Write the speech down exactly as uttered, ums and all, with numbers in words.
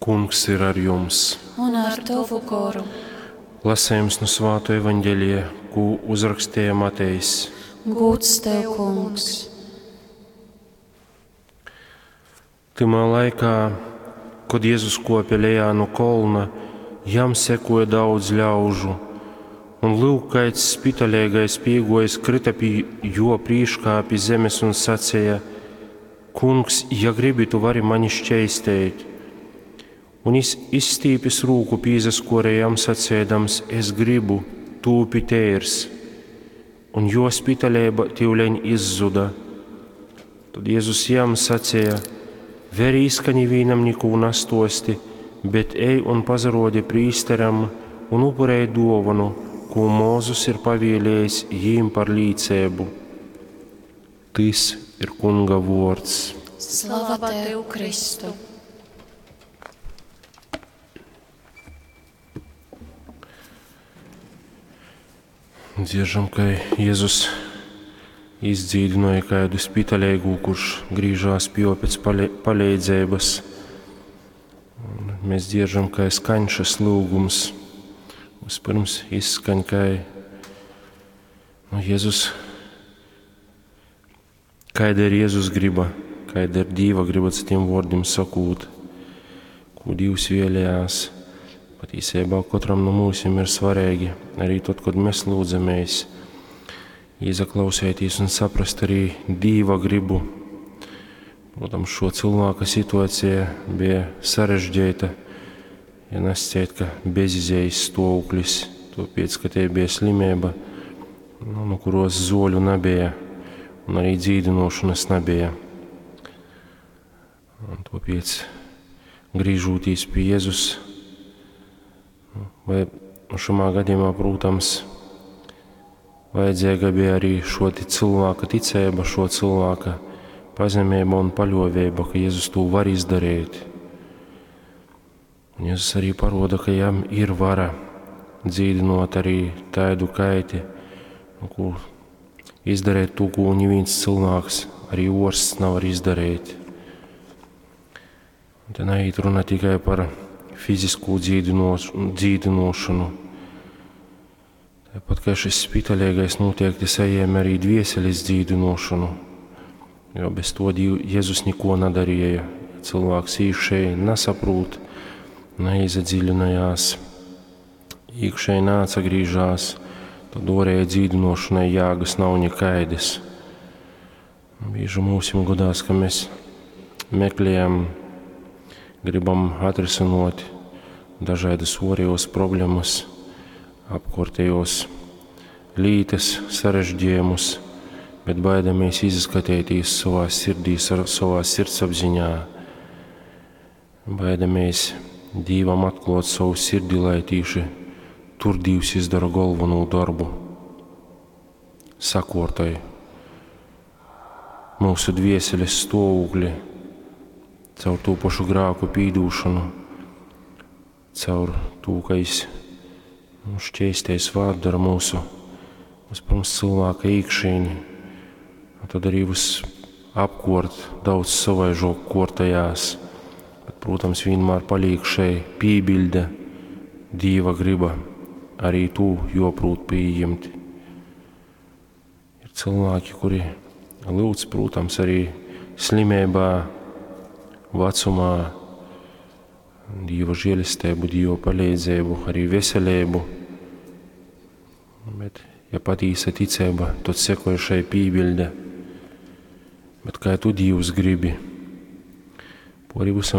Kungs ir ar jums! Un ar tovu goru. Lasējums nu Svāto evaņģelija, ko uzrakstīja Matejs. Gūds tev, Kungs! Tymā laikā, kad Jēzus kopja lejā no kolna, jam sekoja daudz ļaužu, un lūk, kaids spitalīgais pīgojis krita pie jo prīškā pi zemes un sacīja: Kungs, ja gribi, tu vari mani šķeistēt. Un iz, izstīpis rūku pīzaskorēja jam sacēdams: Es gribu, tūpi teirs. Un jo spitalība tivleņ izzuda. Tad Jēzus jam sacīja: Verīs, ka nivīnam nikū nastosti, bet ej un pazarodi prīsteram un upurēj dovanu, ko Mūzus ir pavēlējis jīm par līcēbu. Tys ir Kunga vords. Slava tev, Kristu! Dzieržam, ka Jēzus izdzīdināja kādu spitalīgu, kurš grīžās pie jo pēc pale palīdzības. Un mēs dzieržam, ka skaņ šis lūgums. Vispirms izskaņ, ka nu, Jēzus, kāda ir Jēzus griba, kāda ir Dīva griba, citiem vārdiem sakot, ko Dievs vēlējās. Patīsībā katram no mūsim ir svarīgi, arī tad, kad mēs lūdzamies, iezaklausēties un saprast arī Dīva gribu. Protams, šo cilvēka situācija bija sarežģīta, ja nesciet, ka bezizējas stāvoklis, tāpēc, ka te bija slimība, nu, no kuros zoļu nebija un arī dzīdinošanas nebija. Un tāpēc, griežoties pie Jēzus, vai šajā gadījumā, protams, vajadzīga bija arī šo cilvēka ticība, šo cilvēka pazemība un paļāvība, ka Jēzus to var izdarīt. Un Jēzus arī paroda, ka jam ir vara dzīdinot arī tādu kaiti, nu, ko izdarīt to, ko neviens cilvēks, arī orsts nevar izdarīt. Un te neiet runa tikai par fizisko dzīdinošanu. Tāpat kā šis spitalīgais noteikti saņēma arī dvieseles dzīdinošanu, jo bez to Jēzus neko nedarīja. Cilvēks iekšēji nesaprot, neiedziļinājās, iekšēji neatsagrīžās, tad orēja dzīdinošanai jēgas nav nekaidas. Bieži mūsim godās, ka mēs meklējam, gribam atrisinot dažādas orējos problēmas, apkārtējos lītes, sarežģījumus, bet baidamies izskatīties savā sirdī, savā sirdsapziņā. Baidamies Dievam atklāt savu sirdi, lai tīši tur Dievs izdara galveno darbu. Sakortai mūsu dvieseles stāvokli caur to pašu grāku pīdūšanu, caur to, ka es nu, šķēsties vārdara mūsu, vispirms cilvēka iekšēni, un tad arī viss apkort daudz savaižok kortajās, bet, protams, vienmēr paliek šai pībilde, Dīva griba, arī tu joprūt pieņemt. Ir cilvēki, kuri lūdz, protams, arī slimībā, vecumā, Dieva žēlastību, Dieva palīdzību, arī veselību. Bet, ja patīsa ticība, tad sekoja šai pībilde. Bet kā tu Dievs gribi? Pori visam